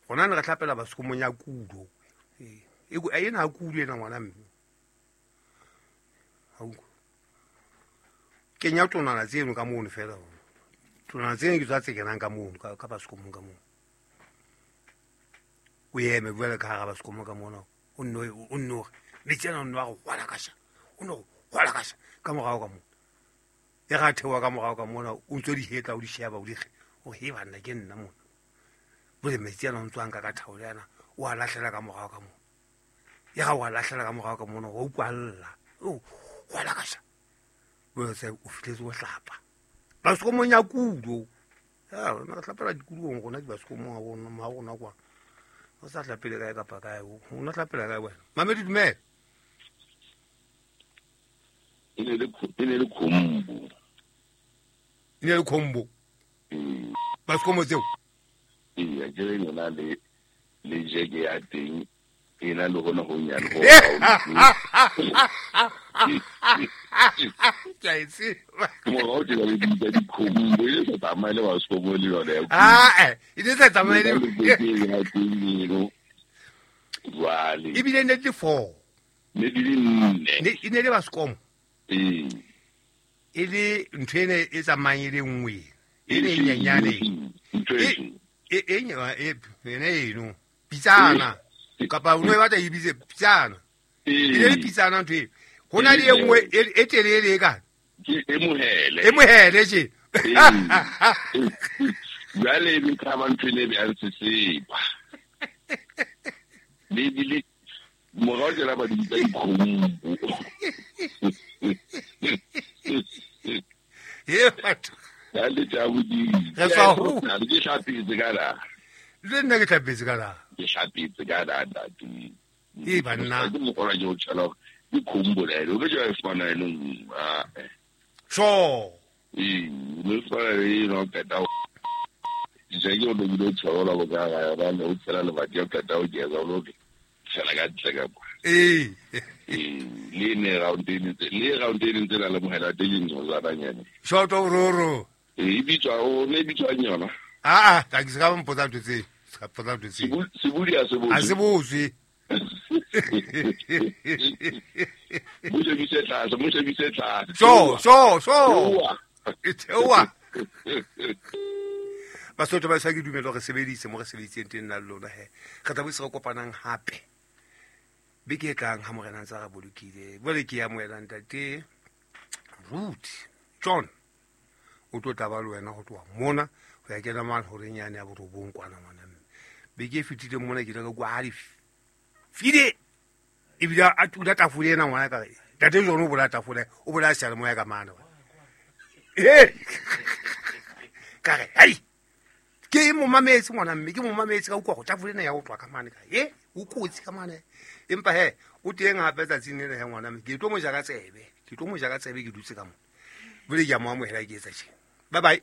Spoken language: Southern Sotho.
Rona ne re hlapela baskomong ya kudo. Ee, ena ha kudo ena ngwana mme. Ha utlwa. Kenya tonana tseno ka mono fela. Tonana tseno ke tswa tse kenang ka mono, ka baskomong ka mono. O eme jwale ka hara baskomo ka mona, o nno hore metsi ana o nno a re hwalakasha, o nno hwalakasha ka morao ka mona. E ga theoha ka morao ka mona, o ntso di hetla, o di sheba, o di re, o he banna ke nna mona. Jwale metsi ana o ntso a nka ka thaole ana, o a lahlela ka morao ka mona. E ga o a lahlela ka morao ka mona, wa utlwa lla. O hwalakasha. Jwale se o fihletse o hlapa. Baskomong ya kudo. Ya, rona re hlapela dikulong rona di baskomong ha rona, ma rona kwa. O sa hlapele kae kapa kae, o no hlapela kae wena? Mamedi dumela. E ne le e ne le khombo. E ne le khombo. Baskomo tseo? Ee, ke re yona le jeke ya teng e na le hona ho nyane ho Ke a e tseba. Morao tjena le bitsa dikhombo, e sa tsamaye le baskomo le yona ya Ah, e ne sa tsamaye le ya teng eno. Jwale. Ebile ne di le 4. Ne di le 4. Ne e ne le baskomo. Ee. E le ntho ene e tsamayang e le nngwe. E le nyenyane. Ntho e E e e ene eno. Pitsana. Kapa o no e batla e bitse pitsana. E ne le pitsana ntho eo. Ho na le e nngwe e telele e ka. Ke e mohele. E mohele tje. Jwale e tla ntho ene e sesepa. Le bile morao tjena ba di bitsa dikgomo. Ye batho. Ya le tja bodimo. Re tswa ho. Ke hlapetse ka la. Le nna ke hlapetse ka la. Ke hlapetse ka la ntate. E banna. Ke mokgwa ke o tshela ke khombo la eno, ke jwa fana eno. Ah. Sure. Ee, le fana le no qeta. Je ke o lo tshela la boka ga ya ba o tshela le batho qeta o ke za o ke. Tshela ka ntle ka kwa. Ee. Ee, le ne round e ntse, le round e ntse la lemohela teng ntho tsa banyane. Short of roro. E bitswa o ne bitswa yona. Ah, ah, ke se ka mpotsa ntho tse. Se ka mpotsa ntho tse. Sebudi a se botse. A se botse. Mo shebise tlase, mo shebise tlase. So, so, so. E theoha. Basotho ba sa ke dumela re sebedise mo re sebeditseng teng nna le lona he. Re tla boetse re kopanang hape. Beke e tlang ha morena ntse a re bolokile. Jwale ke ya amohela ntate Ruth John. O tlo tla ba le wena ho tloha mona ho ya kena mane horeng yane ya borobong kwana ngwana mme. Beke e fetileng mona ke ile ka kwa ha di file. Ebile a tula tafole ena ngwana ka re, ntate John o bolaya tafole, o bolaya seyalemoya ka mane. Ee. Ka re, hei, ke mo mametse ngwana mme, ke mo mametse ka utlwa go tafole ena ya go tloha ka mane ka, e, o kotsi ka mane. Empa he, o teng hape tsatsing lena he ngwana mme, ke tlo mo ja ka tsebe, ke tlo mo ja ka tsebe ke dutse ka mona. Jwale ke a mo amohela ke etsa tjena. Bye bye.